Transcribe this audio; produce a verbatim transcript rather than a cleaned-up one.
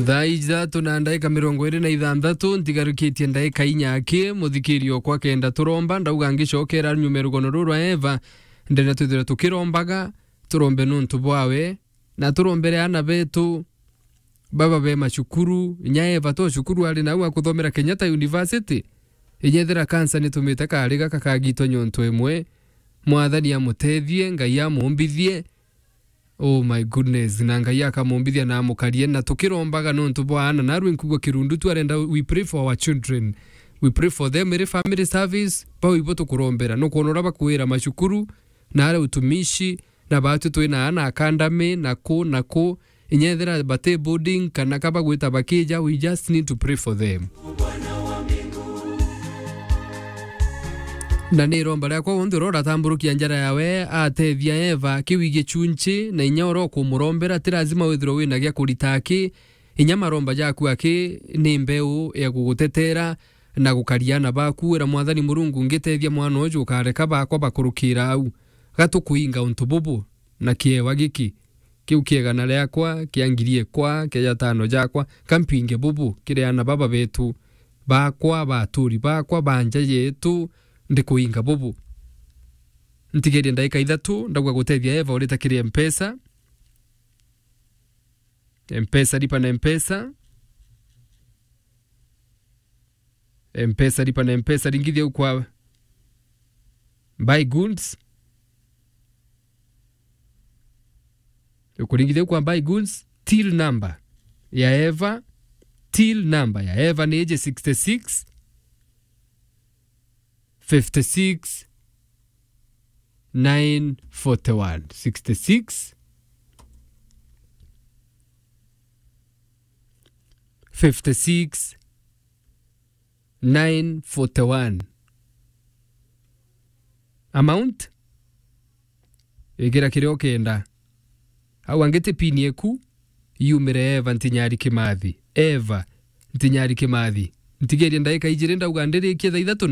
Thaa ithatu na ndaika mirongo iri na ithanthatu, ntigarukitie ndaika inya aki, muthikiri okwa kenda turomba, ndauga ngicokera nyuma rugono ruru rwa Eva, ndenda twithire tukirombaga, turombe nuntu bwawe, na turombere ana betu, baba be macukuru, inya Eva to cukuru ari nau akuthomera Kenyatta University. Inyethira kansa nitumite kari gaka kagitwa nyontu imwe, Mwathani amutethie, Ngai amumbithie. Oh my goodness, na Ngai akamumbithia na amukarie, na tukirombaga nontu bwa ana, narwe nkugwa kirundu tu arenda, we pray for our children. We pray for them, iri family service, bau ibo tukurombera. Nukwona uria bakwira macukuru, na aria utumishi, na batu twina ana academy, na ku, na ku, inyethira bati boarding, kana kaba gwita bakija, we just need to pray for them. Na ni iromba riakwa wonthe uria uratamburukia njara yawe, atethia Eva, kiu igicunchi, na inya uria ukumurombera, ti lazima withirwe wina gia kurita aki, inya maromba jaku aki ni mbeu ya gugutetera na gukaria ana baku. Wira Mwathani Murungu, ngitethia mwana uju ukareka bakwa bakurukira au. Gatukuinga untu bubu na kiewa giki. Kiu kiegana riakwa, kia ngiri ekwa, kia jatano jakwa, kampinge bubu kiri ana baba betu, bakwa, baturi bakwa, ba nja yetu, ndikuinga bubu. Ntigerie ndaika ithatu, ndauga gutethia Eva urita kiri Mpesa. Mpesa, lipa na Mpesa. Mpesa, lipa na Mpesa, ringithia u kwa buy goods. Ukuringithia u kwa buy goods, till number ya Eva, till number ya Eva ni iji sixty six, fifty six, nine forty one, sixty six, fifty six, nine forty one. Amount? Igira kiria ukenda. Au angi ti pin eku, yumire Eva Ntinyari Kimathi. Eva Ntinyari Kimathi. Ntigerie ndaika ijiri ndauga ndirikie thaa ithatu na